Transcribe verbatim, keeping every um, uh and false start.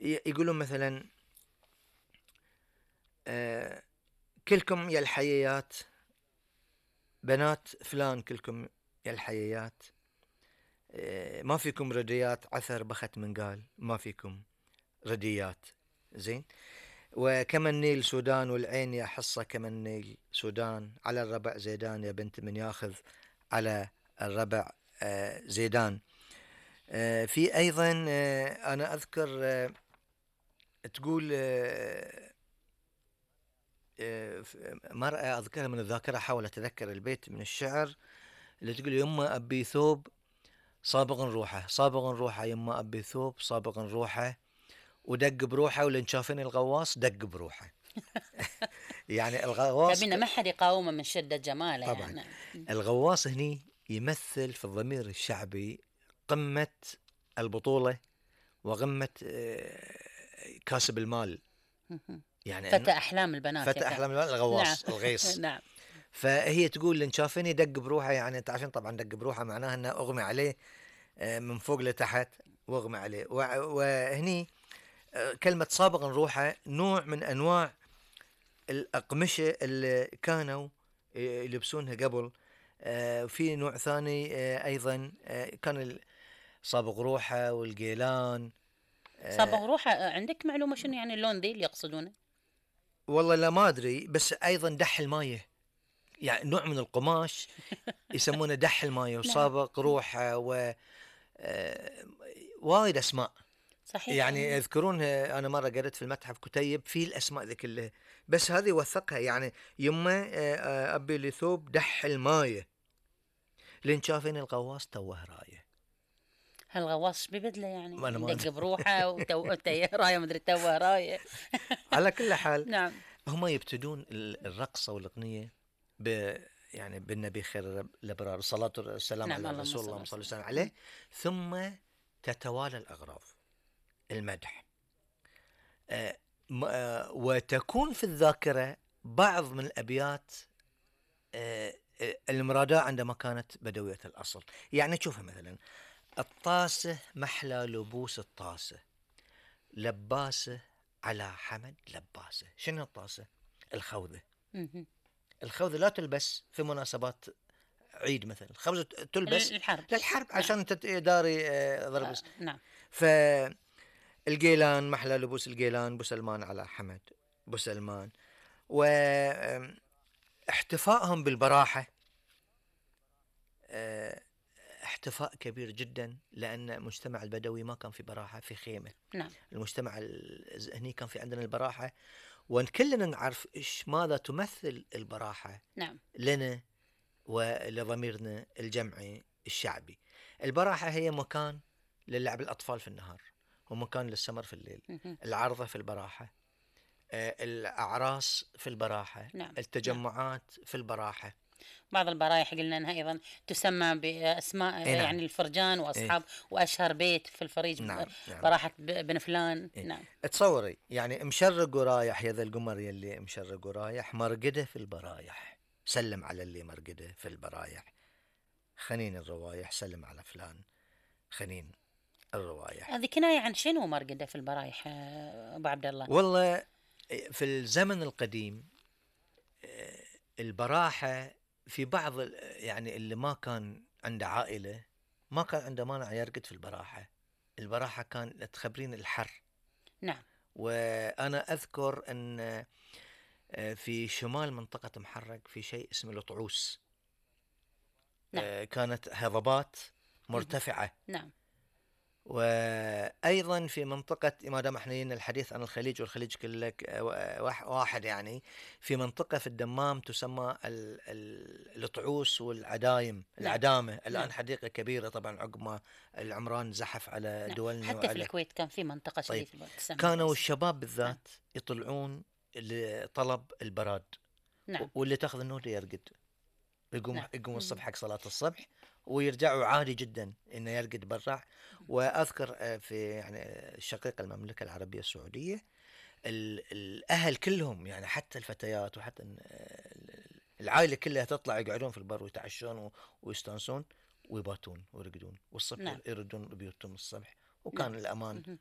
يقولون مثلا آه كلكم يا الحييات، بنات فلان كلكم يا الحييات، آه ما فيكم رديات، عثر بخت من قال ما فيكم رديات. زين. وكما النيل سودان والعين يا حصة كما النيل سودان، على الربع زيدان يا بنت من ياخذ على الربع آه زيدان. آه في أيضا آه أنا أذكر آه تقول آه آه مرأة أذكرها من الذاكرة، حاول أتذكر البيت من الشعر اللي تقول يما أبي ثوب صابغ روحه، صابغ روحه يما أبي ثوب صابغ روحه، ودق بروحه ولن شافني الغواص دق بروحه. يعني الغواص تبينا ما حد يقاومه من شدة جماله طبعا يعني. الغواص هني يمثل في الضمير الشعبي قمة البطولة وقمة كاسب المال، يعني فتى أحلام البنات، فتى أحلام الغواص. نعم. الغيص. نعم. فهي تقول لن شافني دق بروحه، يعني انت عشان طبعا دق بروحه معناها انه اغمي عليه من فوق لتحت واغمي عليه. وهني كلمة صابغا روحه نوع من انواع الأقمشة اللي كانوا يلبسونها قبل. في نوع ثاني أيضا كان صابغ روحه والقيلان. صابغ روحه عندك معلومة شنو يعني اللون ذي اللي يقصدونه؟ والله لا ما أدري، بس أيضا دح المايه، يعني نوع من القماش يسمونه دح المايه وصابغ روحه، و وايد أسماء. صحيح. يعني يذكرون، أنا مرة قرأت في المتحف كتيب فيه الأسماء ذي كلها، بس هذه وثقها يعني يما أبي لي ثوب دح المايه لين شافين الغواص توه رايه. هالغواص ببدله يعني يدق بروحه وتو رايه مدري توه رايه. على كل حال نعم. هم يبتدون الرقصة والأغنية ب يعني بالنبي خير الأبرار، الصلاة والسلام نعم. على رسول الله صلى الله عليه وسلم عليه. ثم تتوالى الأغراض، المدح، آه آه وتكون في الذاكرة بعض من الأبيات آه المرادة عندما كانت بدوية الأصل. يعني تشوفها مثلا الطاسة محلى لبوس الطاسة، لباسة على حمد لباسة. شنو الطاسة؟ الخوذة. الخوذة لا تلبس في مناسبات عيد مثلا، الخوذة تلبس للحرب، للحرب عشان نعم. تداري ضرب. آه نعم. فالقيلان محلى لبوس القيلان، بوسلمان على حمد بوسلمان. واحتفائهم بالبراحة احتفاء كبير جدا، لأن المجتمع البدوي ما كان في براحة في خيمة. نعم. المجتمع هني كان في عندنا البراحة، وكلنا نعرف إيش ماذا تمثل البراحة. نعم. لنا ولضميرنا الجمعي الشعبي. البراحة هي مكان للعب الأطفال في النهار، ومكان للسمر في الليل. العرضة في البراحة، الأعراس في البراحة. نعم. التجمعات نعم. في البراحة. بعض البرايح قلنا أنها أيضا تسمى بأسماء إيه نعم. يعني الفرجان وأصحاب إيه؟ وأشهر بيت في الفريج نعم. براحة بن فلان. إيه؟ نعم. تصوري يعني مشرق ورايح يا ذا القمر يلي مشرق ورايح، مرقده في البرايح سلم على اللي مرقده في البرايح، خنين الروايح سلم على فلان خنين الروايح. هذه كناية عن شنو مرقده في البرايح أبو عبد الله؟ والله في الزمن القديم البراحة في بعض يعني اللي ما كان عنده عائلة ما كان عنده مانع يرقد في البراحة. البراحة كان تخبرين الحر. نعم. وأنا أذكر أن في شمال منطقة محرق في شيء اسمه الطعوس. نعم. كانت هضبات مرتفعة. نعم. وأيضا في منطقة، ما دام احنا الحديث عن الخليج والخليج كلك واحد، يعني في منطقة في الدمام تسمى الطعوس والعدايم. نعم. العدامة الآن نعم. حديقة كبيرة طبعا عقب ما العمران زحف على نعم. دولنا. حتى في الكويت كان في منطقة طيب. كانوا الشباب بالذات نعم. يطلعون لطلب البراد. نعم. واللي تاخذ النور يرقد، يقوم نعم. يقوم الصبح حق صلاة الصبح ويرجعوا عادي جدا انه يرقد برا. واذكر في يعني الشقيقة المملكة العربية السعودية الاهل كلهم يعني حتى الفتيات وحتى العائلة كلها تطلع يقعدون في البر ويتعشون ويستانسون ويباتون ويرقدون، والصبح نعم. يردون بيوتهم الصبح. وكان نعم. الأمان